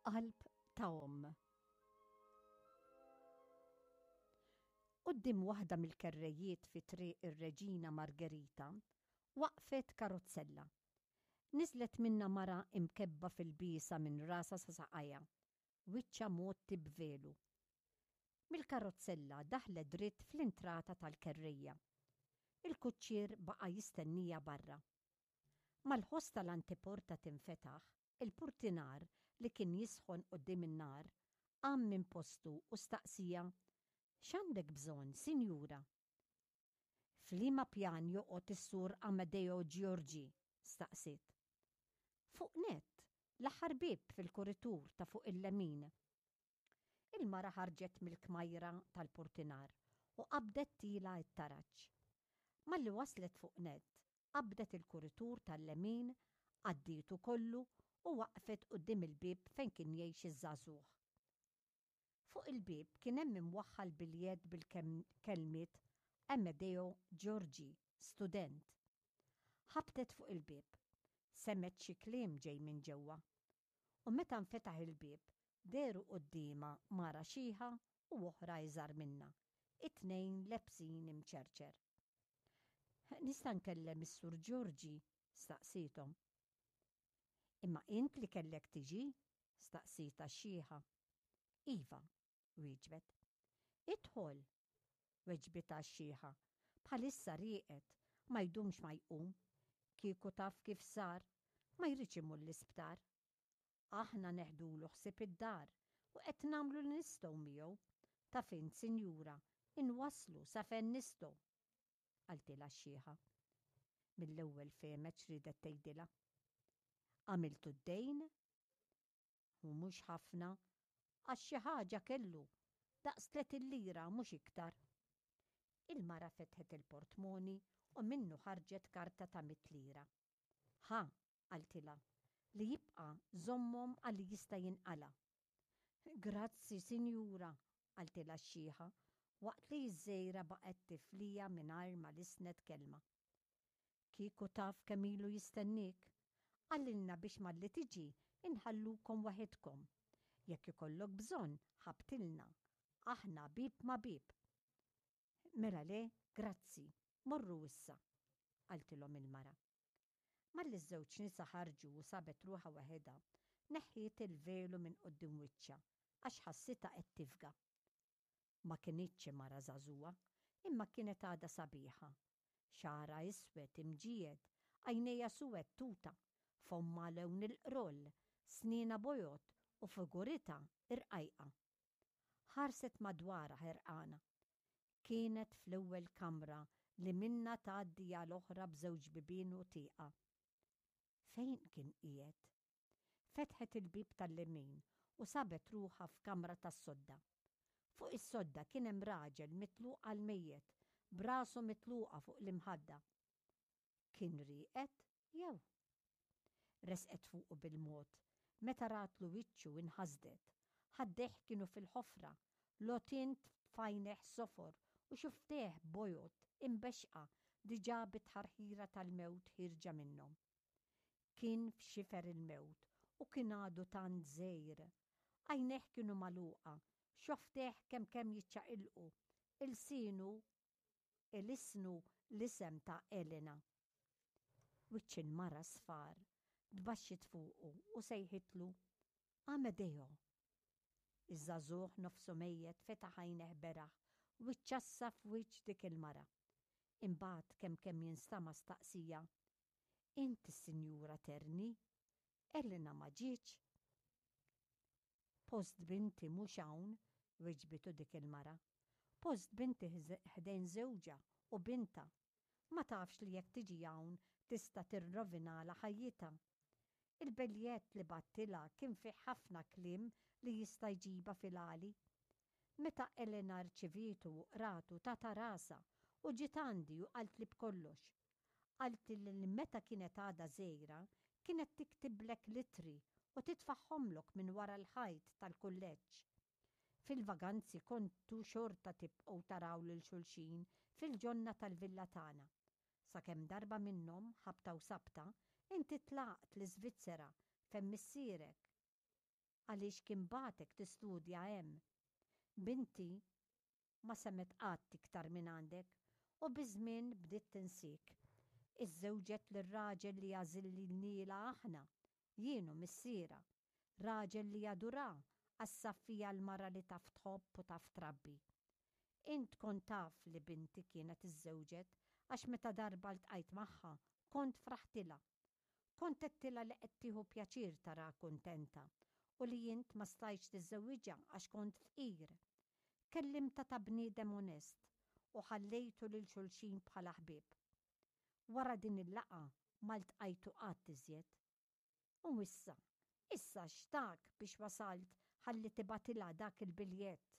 Qalb ta' omm. Quddiem waħda mill-kerrejiet fi Triq ir-Reġina Margherita waqfet karozzella. Niżlet minnha mara imkebba fil-biesa minn rasha sa saqajha, wiċċha mgħotti b'velu. Mill-karozzella daħlet dritt fl-intrata tal-kerrejja. Il-kuċċier baqa' jistennija barra. Mal-ħoss tal-antiporta tinfetaħ, il-purtinar li kien jisħon quddiem in-nar qam minn postu u staqsieha, X'għandek bżonn, sinjura? F'liema pjan joqgħod is-Sur Amedeo Giorgi? staqsiet. Fuq nett, l-aħħar bieb fil-kuritur ta' fuq il-lemin. Il-mara ħarġet mill-kmajra tal-purtinar u qabdet tiela' t-taraġ. Malli waslet fuq nett, qabdet il-kuritur tal-lemin, għaddietu kollu u waqfet quddiem il-bieb fejn kien jgħix iż-żagħżugħ. Fuq il-bieb kien hemm imwaħħal biljett bil-kelmiet Amedeo Giorgi, student. Ħabtet fuq il-bieb. Semgħet xi kliem ġej minn ġewwa. U meta nfetaħ il-bieb, dehru quddiemha mara xiħa u oħra iżgħar minnha, it-tnejn lebsin imċerċer. Nista' nkellem is-Sur Giorgi? staqsiethom. Imma int li kellek tiġi? staqsietha x-xiħa. Iva, wieġbet. Idħol! weġbitha x-xiħa. Bħalissa rieqed, ma jdumx ma jqum. Kieku taf kif sar, ma jridx imur l-isptar. Aħna neħdulu ħsieb id-dar u qed nagħmlu li nistgħu miegħu. Taf int, sinjura, inwasslu sa fejn nistgħu. Qaltilha x-xiħa. Mill-ewwel fehmet x'riedet tgħidilha. Għamiltu d-dejn? U mhux ħafna, għax xi ħaġa kellu, daqs 30 lira mhux iktar. Il-mara fetħet il-portmoni u minnu ħarġet karta ta' mitt lira. Ħa, qaltilha, li jibqa' żommhom għal li jista' jinqala'. Grazzi, sinjura, qaltilha x-xiħa, waqt li ż-żgħira baqgħet tifliha mingħajr ma lissnet kelma. Kieku taf kemm ilu jistenniek. Qalilna biex malli tiġi nħallukom waħidkom. Jekk ikollok bżonn, ħabbtilna. Aħna bieb ma' bieb. Mela le, grazzi, morru issa, qaltilhom il-mara. Malli ż-żewġ nisa ħarġu u sabet ruħha waħedha, neħħiet il-velu minn quddiem wiċċha għax ħassitha qed tifga. Ma kinitx xi mara żagħżugħa, imma kienet għadha sabiħa. Xagħarha iswed imġiegħed, għajnejha suwed tuta, fommha lewn il-qroll, snienha bojod u figuritha irqajqa. Ħarset madwarha ħerqana. Kienet fl-ewwel kamra li minnha tgħaddi għal oħra b'żewġ bibien u tieqa. Fejn kien qiegħed? Fetħet il-bieb tal-lemin u sabet ruħha f'kamra tas-sodda. Fuq is-sodda kien hemm raġel mitluq għall-mejjet, b'rasu mitluqa fuq l-imħadda. Kien rieqed jew? Resqet fuqu bil-mod. Meta ratlu wiċċu inħasdet. Ħaddejh kienu fil-ħofra, l-għotien f'għajnejh sofor u xufftejh bojod imbexxqa diġà bit-tħarħira tal-mewt ħierġa minnhom. Kien f'xifer il-mewt u kien għadu tant żgħir. Għajnejh kienu magħluqa, xofftejh kemm kemm jiċċaqilqu, ilsienu ilissnu l-isem ta' Elena. Wiċċ il-mara sfar, tbaxxiet fuqu u sejħitlu, Amedeo! Iż-żagħżugħ nofsu mejjet fetaħ għajnejh beraħ u ċċassa f'wiċċ dik il-mara. Imbagħad kemm kemm jinstama' staqsija, Int is-Sinjura Terni? Elena ma ġietx? Post binti mhux hawn, weġbitu dik il-mara. Post binti ħdejn żewġha u bintha. Ma tafx li jekk tiġi hawn tista' tirrovinalha ħajjitha. Il-biljett li bgħattilha kien fih ħafna kliem li jista' jġibha fil-għali. Meta Elena rċivietu u qratu tatha rasha u ġiet għandi u qaltli b'kollox. Qaltli li meta kienet għadha żgħira kienet tiktiblek l-ittri u titfagħhomlok minn wara l-ħajt tal-kulleġġ. Fil-vaganzi kontu xorta tibqgħu taraw lil xulxin fil-ġonna tal-villa tagħna. Sakemm darba minnhom, ħabta u sabta, inti tlaqt l-Iżvizzera fejn missierek. għaliex kien bagħtek tistudja hemm. Binti ma semgħet qatt iktar mingħandek u biż-żmien bdiet tinsiek. Iżżewġet lir-raġel li għażilnielha aħna, jien u missierha. Raġel li jadurha għax sab fiha l-mara li taf tħobb u taf trabbi. Int kont taf li binti kienet iżżewġet għax meta darba ltqajt magħha kont fraħtilha. Kont għedtilha li qed tieħu pjaċir taraha kuntenta u li int ma stajtx tiżżewwiġha għax kont fqir. Kellimtha ta' bniedem onest u ħallejtu lil xulxin bħala ħbieb. Wara din il-laqgħa ma ltqajtu qatt iżjed. U issa, issa x'tak biex wasalt ħalli tibgħatilha dak il-biljett?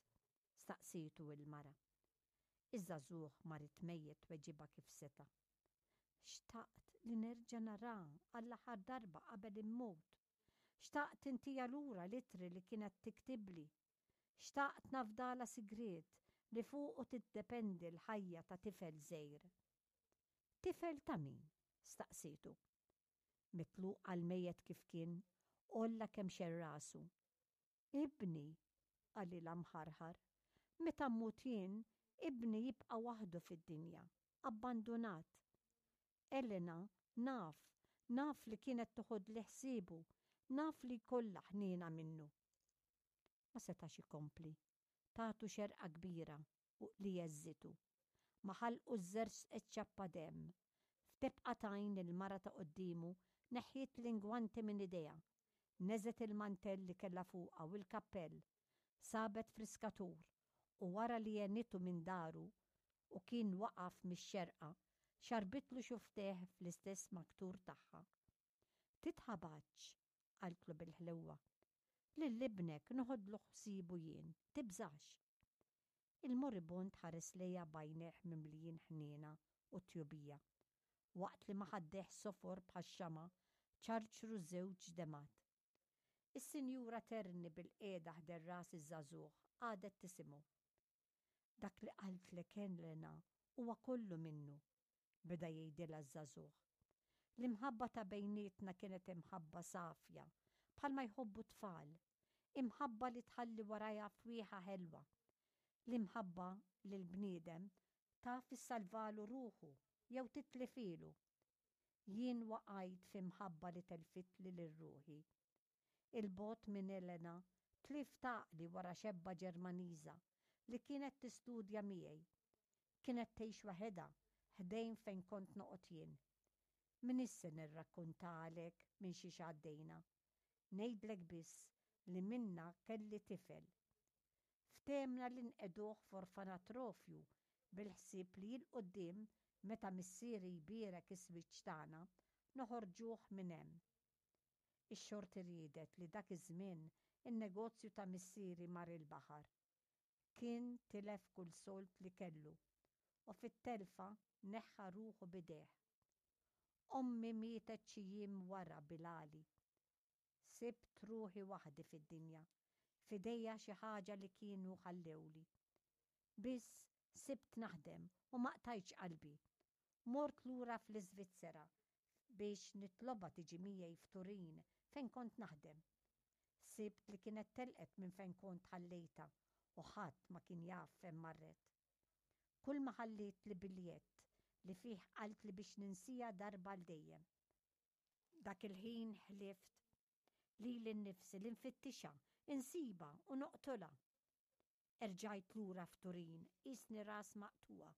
staqsietu il-mara. Iż-żagħżugħ marid mejjet tweġibha kif seta'. Xtaqt li nerġa' naraha għall-aħħar darba qabel immut. Xtaqt intiha lura l-ittri li kienet tiktibli. Xtaqt nafdalha sigriet li fuqu tiddependi l-ħajja ta' tifel żgħir. Tifel ta' min? staqsietu. Mitluq għall-mejjet kif kien, għolla kemxejn rasu. Ibni, qalilha mħarħar, meta mmut jien, ibni jibqa' waħdu fid-dinja, abbandunat. Elena, naf, naf li kienet toħodli ħsiebu, naf li jkollha ħniena minnu. Ma setax ikompli. Tatu xerqa kbira u li għeżżitu. Ma' ħalqu żżerżqet ċappa demm. F'tebqa t'għajn il-mara ta' quddiemu neħħiet l-ingwanti minn idejha. Neżgħet il-mantell li kellha fuqha u l-kappell. Sabet friskatur u wara li għenitu minn daru u kien waqaf mix-xerqa, xarbitlu xufftejh fl-istess maktur tagħha. Titħabatx, qaltlu bil-ħlewwa. Lil ibnek noħodlu ħsiebu jien, tibżax. Il-moribond ħares lejha b'għajnejh mimlijin ħniena u tjubija, waqt li ma' ħaddejh sofor bħax-xama' ċarċru żewġ demgħat. Is-Sinjura Terni bilqiegħda ħdejn ras iż-żagħżugħ qagħdet tisimgħu. Dak li qaltlek Elena huwa kollu minnu, beda jgħidilha ż-żagħżugħ. L-imħabba ta' bejnietna kienet imħabba safja, bħalma jħobbu t-tfal, imħabba li tħalli warajha fwieħa ħelwa. L-imħabba lill-bniedem taf issalvalu ruħu jew titlifilu. Jien waqajt fi mħabba li telfitli lil ruħi. 'Il bogħod minn Elena, tlift għaqli wara xebba Ġermaniża li kienet tistudja miegħi. Kienet tgħix waħedha ħdejn fejn kont noqgħod jien. M'iniex se nirrakkuntalek minn xiex għaddejna. Ngħidlek biss li minnha kelli tifel. Ftehmna li nqegħduh f'orfanatrofju bil-ħsieb li 'l quddiem meta missieri jbierek is-swiċċ tagħna, noħorġuh minn hemm. Ix-xorti riedet li dak iż-żmien in-negozju ta' missieri mar il-baħar. Kien tilef kull sold li kellu u fit-telfa neħħa ruħu b'idejh. Ommi mietet xi jiem wara bil-għali. Sibt ruħi waħdi fid-dinja, f'idejja xi ħaġa li kienu ħallewli. Biss sibt naħdem u ma qtajtx qalbi. Mort lura fl-Iżvizzera biex nitlobha tiġi miegħi f'Turin fejn kont naħdem. Sibt li kienet telqet minn fejn kont ħallejtha u ħadd ma kien jaf fejn marret. Kulma ħallietli biljett li fih qaltli biex ninsiha darba għal dejjem. Dak il-ħin ħlift lili nnifsi li nfittixha, insibha u noqtolha. Erġajt lura f'Turin qisni ras maqtugħa,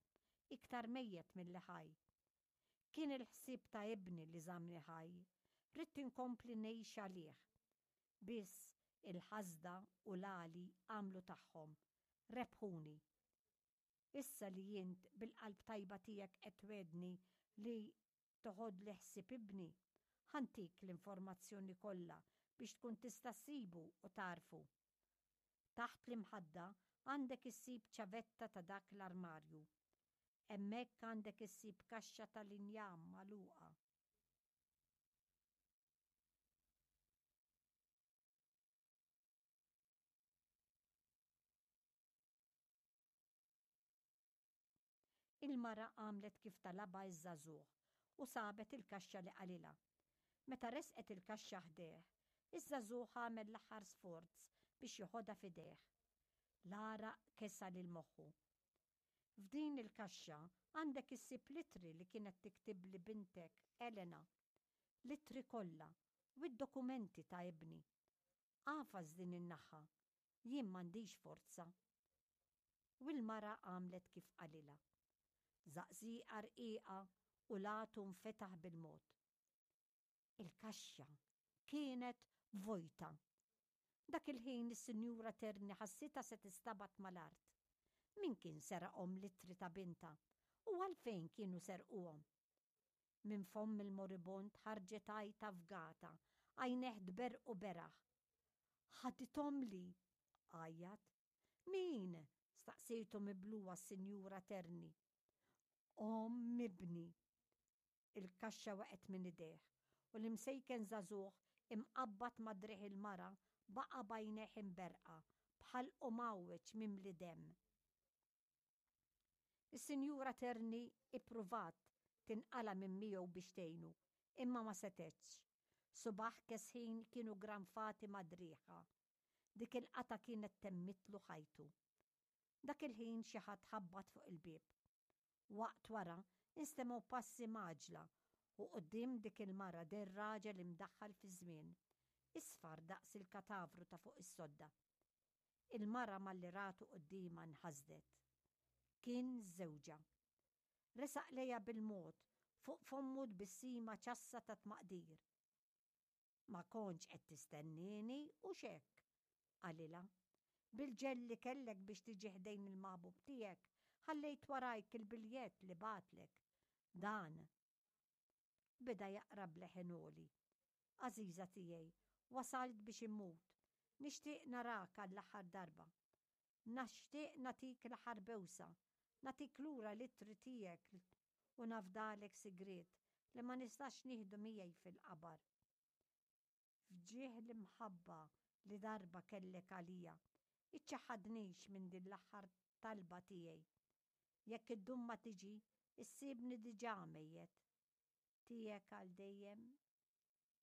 iktar mejjet milli ħaj. Kien il-ħsieb ta' ibni li żammni ħaj, ridt inkompli ngħix għalih. Biss il-ħasda u l-għali għamlu tagħhom, rebħuni. Issa li int bil-qalb tajba tiegħek qed twegħdni li toħodli ħsieb ibni, ħa ntik l-informazzjoni kollha biex tkun tista' ssibu u tagħrfu. Taħt l-imħadda għandek issib ċavetta ta' dak l-armarju. Hemmhekk għandek issib kaxxa tal-injam magħluqa. Il-mara għamlet kif talabha ż-żagħżugħ u sabet il-kaxxa li qalilha. Meta resqet il-kaxxa ħdejh, Iż-żagħżugħ għamel l-aħħar sforz biex joħodha f'idejh. L-għaraq kesa lil moħħu. F'din il-kaxxa għandek issib l-ittri li kienet tiktibli bintek Elena. L-ittri kollha u d-dokumenti ta' ibni. Agħfas din in-naħa, jien m'għandix forza. U l-mara għamlet kif qalilha. Żaqżieqa rqiqa u l-għatu nfetaħ bil-mod. Il-kaxxa kienet vojta. Dak il-ħin is-Sinjura Terni ħassitha se tistabat mal-art. Min kien seraqhom l-ittri ta' bintha u għalfejn kienu serquhom? Minn fomm il-moribond ħarġet għajta fgata, għajnejh tberrqu beraħ. Ħadithomli! għajjat. Min? staqsietu miblugħa s-Sinjura Terni. Omm ibni! Il-kaxxa waqgħet minn idejh u l-imsejken żagħżugħ imqabbad ma' driegħ il-mara baqa' b'għajnejh imberrqa, b'ħalqu mgħawweġ mimli demm. Is-Sinjura Terni ippruvat tinqala' minn miegħu biex tgħinu, imma ma setgħetx. Subgħajh kesħin kienu ggranfati ma' driegħha. Dik il-qatgħa kienet temmitlu ħajtu. Dak il-ħin xi ħadd ħabbat fuq il-bieb. Waqt wara, instemgħu passi mgħaġġla u quddiem dik il-mara deher raġel imdaħħal fiż-żmien, isfar daqs il-katavru ta' fuq is-sodda. Il-mara malli ratu quddiemha nħasdet. Kien żewġha. Resaq lejha bil-mod, fuq fommu tbissima ċassa ta' tmaqdir. Ma kontx qed tistennieni, hux hekk? qalilha. Bil-ġell li kellek biex tiġi ħdejn il-maħbub tiegħek, ħallejt warajk il-biljett li bagħatlek. Dan. Beda jaqra b'leħen għoli. Għażiża tiegħi, wasalt biex immut. Nixtieq narak għall-aħħar darba. Nixtieq nagħtik l-aħħar bewsa, nagħtik lura l-ittri tiegħek u nafdalek sigriet li ma nistax nieħdu miegħi fil-qabar. F'ġieħ l-imħabba li darba kellek għalija, iċċaħħadnix minn din l-aħħar talba tiegħi. Jekk iddum ma tiġi, issibni diġà mejjet. Tiegħek għal dejjem.